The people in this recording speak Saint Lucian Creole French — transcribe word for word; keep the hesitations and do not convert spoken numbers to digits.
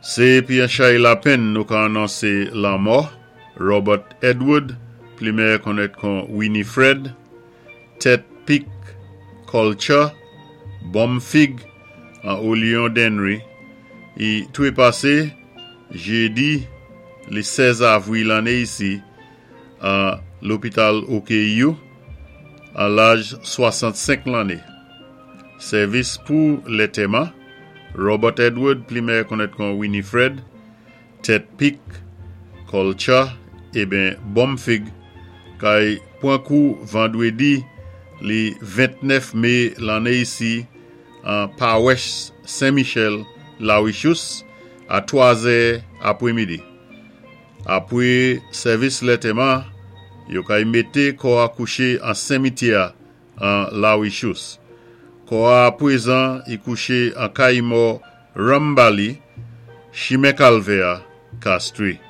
Sé pi an chay lapenn nou ka anonsé lanmò Robert Edward, pli mèyè konnèt kon Winifred, Tèt Pik Culture, Bomfig an Olion Dennery, i twé pasé jédi li sèz avwil lanné isi an lopital O K U an laj swasant-senk lanné. Sèvis pou lantèman Robert Edward, pli mèyè konnèt kon Winifred, Tèt Pik, Culture, eben Bomfig, kay pwan kou vandwédi li ventnèf mé lanné isi an Pawès Saint-Michel, Lawechous, a twa zè apwémidi. Apwé sèvis lantèman, yo kay mété kò a kouché an simityè an Lawechous. Kò a pwézan i kouché an kay mò Rambali, Chimen Kalvè, Castries.